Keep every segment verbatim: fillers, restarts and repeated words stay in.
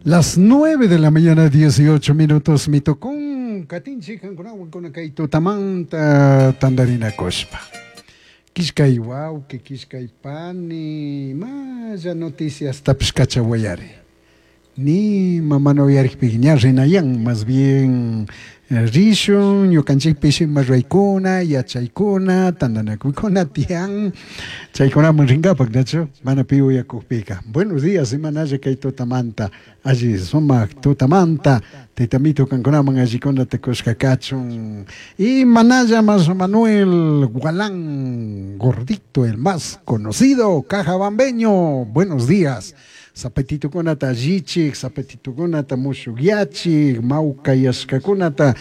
Las nueve de la mañana, dieciocho minutos, mitocón, katinchi, kankunawan kay tutamanta tandarinakushpa. Kishkay wawqi, kishkay pani, maya noticias tapish kachawayari. Ni mamana uyarikpi ña rinayan, más bien rishun, ñukanchikpish ima ruraykuna, yachaykuna, tandanakuykuna tiyan, chaykunaman rinkapak, nachu? Mana pi uyakukpika. Buenos días, imanalla kay tutamanta, alli sumak tutamanta, tayta mito kankunaman allikunata kushka kachun. Y manalla más Manuel Gualán, gordito, el más conocido, cajabambeño, buenos días. Zapatitukunata allichik, zapatitukunata mushukyachik, mawkayashkakunata,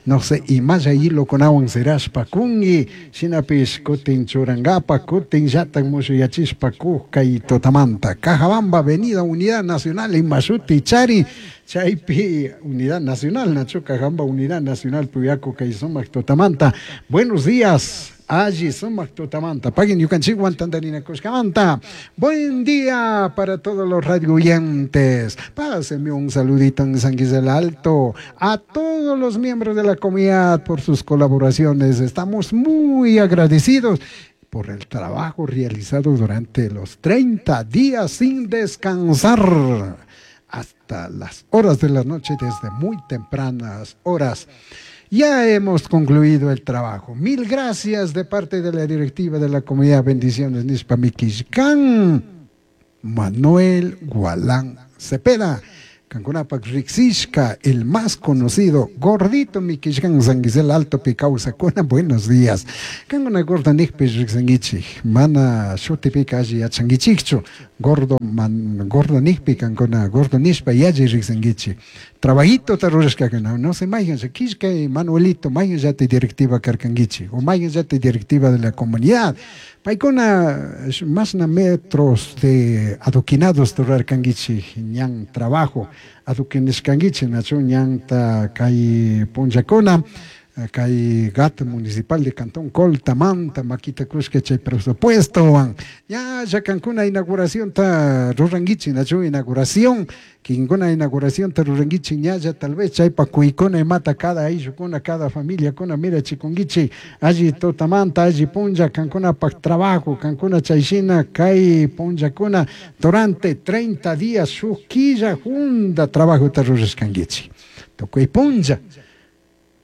no sé, imalla hilokunawan sirashpa kunki, shinapish kutin churankapak, kutin llatak mushuyachishpa kuk kay tutamanta. Cajabamba, Avenida Unidad Nacional, imashuti chari, chaypi Unidad Nacional, nachu Cajabamba Unidad Nacional, puyaku kay sumak tutamanta. Buenos días. Alli sumak tutamanta, paguen ñukanchikwan tandarinakushkamanta. Buen día para todos los radio oyentes. Pásenme un saludito en San Gisela Alto a todos los miembros de la comunidad por sus colaboraciones. Estamos muy agradecidos por el trabajo realizado durante los treinta días sin descansar hasta las horas de la noche, desde muy tempranas horas. Ya hemos concluido el trabajo. Mil gracias de parte de la directiva de la comunidad. Bendiciones, Nishpa Mikishkan. Manuel Gualán Cepeda. Kankunapak riksishka, el más conocido, gordito Mikishkan, San Gisela Alto Picausa-kuna, buenos días. Kankuna gordo nikpish riksankichik, mana shutipika alli yachankichikchu, gordo man, gordo nikpi kankuna, gordo nishpa yalli riksankichik. Trabajito ta rurashkakuna, no sé, mayhan, kishka Manuelito, mayhan llati directiva karkankichik, o mayhan llati directiva de la comunidad. Paykuna masna metros de adoquinados rurarkankichik, ñan trabajo adoquinishkankichik, nachu ñanta kay punllakuna, kay G A T municipal de Cantón Colta, Manta, Maquita Kushka chay presupuesto, ya ya kankuna inauguración ta rurankichik, nachu inauguración, kinkuna inauguración ta rurankichik, ñalla tal vez chaypa kuykuna imata cada ayllukuna, cada familia kuna mira chikunkichik, alli tutamanta, alli punlla, kankuna pak trabajo, kankuna chayshina kay punllakuna durante treinta días shuk killa junda trabajo ta rurashkankichik. Tukuy punlla.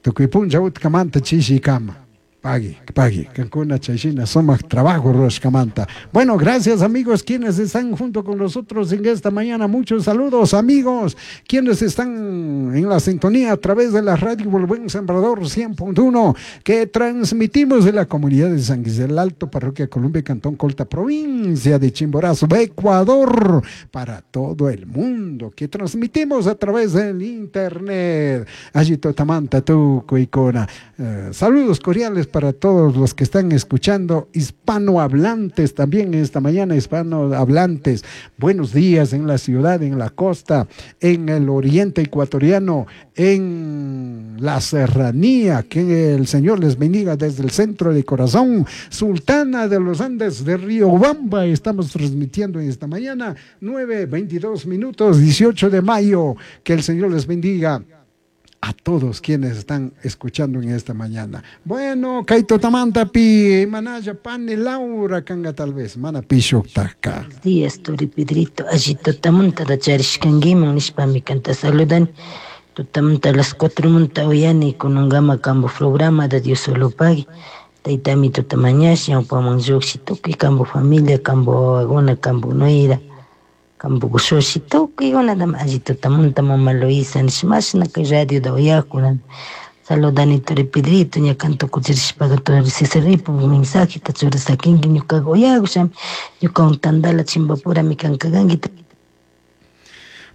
Tukuy punlla utkamanta chishikama. Pagui, pagui. Kankuna chayshina sumak trabajo rurashkamanta. Bueno, gracias amigos quienes están junto con nosotros en esta mañana. Muchos saludos amigos quienes están en la sintonía a través de la radio El Buen Sembrador cien punto uno que transmitimos de la comunidad de San Gisela Alto, Parroquia Columbia, Cantón Colta, provincia de Chimborazo, Ecuador, para todo el mundo, que transmitimos a través del internet. Allí totamanta tu cuicona. Eh, saludos cordiales para todos los que están escuchando, hispanohablantes también esta mañana, hispanohablantes. Buenos días en la ciudad, en la costa, en el oriente ecuatoriano, en la serranía. Que el Señor les bendiga desde el centro de corazón. Sultana de los Andes de Riobamba, estamos transmitiendo esta mañana, nueve veintidós minutos, dieciocho de mayo. Que el Señor les bendiga a todos quienes están escuchando en esta mañana. Bueno, Kaito Tamanta pi, Manaya Pani Laura Kanga tal vez, Mana Pishuktaka. Buenos días, Turi Pedrito, allí Totamunta da Charishkangiman, nishpami kanta saludan. Totamunta a las cuatro munta uyani con un gama cambo programa de Dios solo pague. Taitami totamañash, ñawpaman lluqshi tukuy cambo familia, cambo agona, cambo nuera. Cambo gushoshi tukuy kunata alli tutamunta mama Luisa nishmashna kay radio da uyakuna. Saludani Turi Pedrito, ña kanto kuchirishpaqa Turi Cesarripo mensajeta churasakinki ñukaqa uyakushami, ñukawan tandala chimbapurami kankakanki.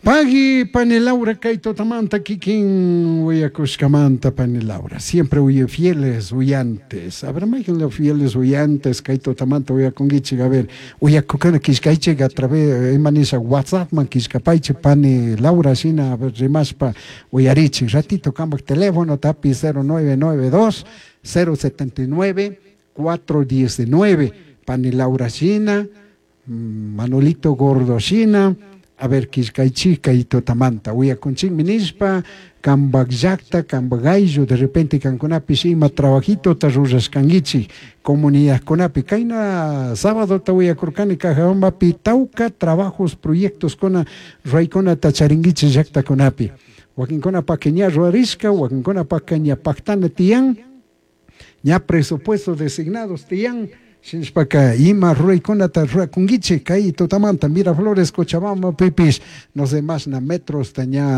Pagui, Pani Laura, kay tutamanta kikin uyakushkamanta, Pani Laura. Siempre huye fieles uyantes. A ver, imagínense fieles uyantes, kay tutamanta uyakunkichik. A ver, uyakukana kishkaychik a través, imanisa WhatsApp man kishkapaychik, Pani Laura, shina, a ver, rimashpa uyarichik. Ratito, kambak teléfono, tapi cero nueve nueve dos, cero setenta y nueve, cuatro diecinueve. Pani Laura, shina, Manolito Gordo, shina, A ver, killkaychik kay tutamanta uyakunchikmi nishpa kambak llakta kambak ayllu de repente kankunapish ima trabajitota rurashkankichik comunidadkunapi kayna sabadota uyakurkani Cajabambapi tawka trabajos proyectoskuna ruraykunata charinkichik llaktakunapi wakinkunapaka ña rurarishka wakinkunapaka ña paktana tiyan ña presupuesto designados tiyan shinashpaka ima ruraykunata rurakunkichik kay tutamanta Miraflores Cochabambapipish no sé mashna metrosta ña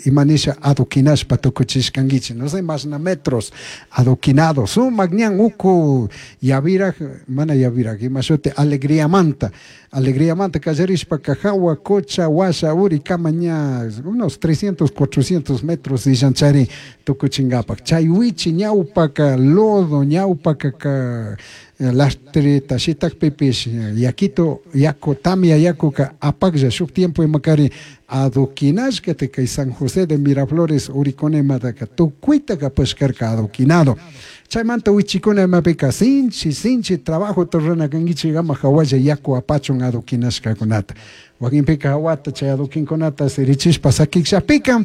ima nisha adoquinashpa tukuchishkankichik no sé mashna metros adoquinados sumak ñan uku Yaviraj mana Yaviraj ima shuti Alegriamanta Alegriamanta kallarishpaka jawa Cocha washa urikama ña unos trescientos cuatrocientos metros ishanchari tukuchinkapak chay wichi ñawpaka lodo ñawpaka lastrita shitakpipish yakito yaku tamia yakuka apaklla shuk tiempo imakari adoquinashkata kay San José de Miraflores urikunamataka tukuyta apashkarka adoquinado chaymanta wichikuna imapika sinchi sinchi trabajota rurana kankichik ama hawalla yaku apachun adoquinashkakunata wakinpika hawata chay adoquinkunata sirichishpa sakikllapika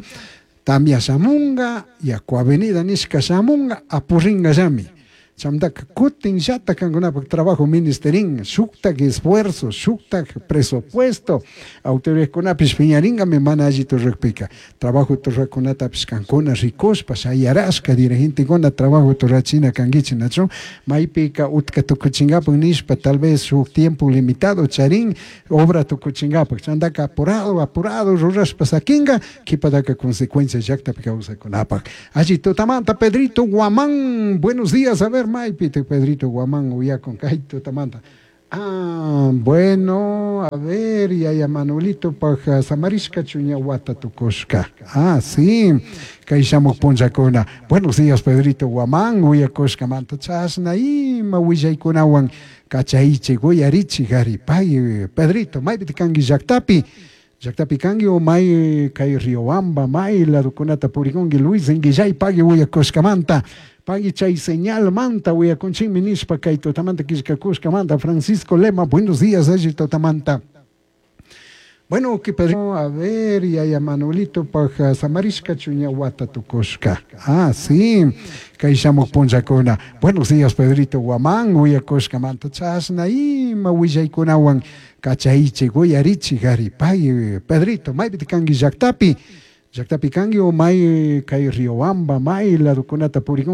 tamia shamunga yaku avenida nishka shamunga apuringallami chamtaka kutin llata kankunapak trabajo ministerin shuktak esfuerzo shuktak presupuesto autoridadkunapish piñarinkami mana allita rurakpika trabajo rurakunatapish kankuna rikushpa shayarashka dirigentekuna trabajo rurachina kankichik nachu maypika utka tukuchinkapak nishpa tal vez shuk tiempo limitado charin obra tukuchinkapak chantaka apurado apurado rurashpa sakinka kipataka consecuencia llaktapi kawsakunapak alli tutamanta Pedrito Guamán buenos días a ver maypita Pedrito Guamán uyakun kay tutamanta ah bueno a ver yaya Manuelito paj samarishka chuña wata tukushka ah sí kay shamuk punllakuna buenos días Pedrito Guamán uyakushkamanta chashna ima willaykunawan kachaychik uyarichik ari pay Pedrito maypita kanki llaktapi llaktapi kanki o may kay Riobamba may ladokunata purikunki Luis Inguillay pagui uyakushkamanta pagui chay señal manta uyakunchikmi nishpa kay tutamanta killkakushkamanta Francisco Lema buenos días alli tutamanta bueno que Pedro a ver yaya Manuelito paj samarishka chuña wata tukushka ah sí kay shamuk punllakuna buenos días Pedrito Guamán uyakushkamanta chashna ima willaykunawan kachaychik uyarichik ari pay Pedrito maypita kanki llaktapi llaktapi kanki o may kay Riobamba may ladokunata purikunki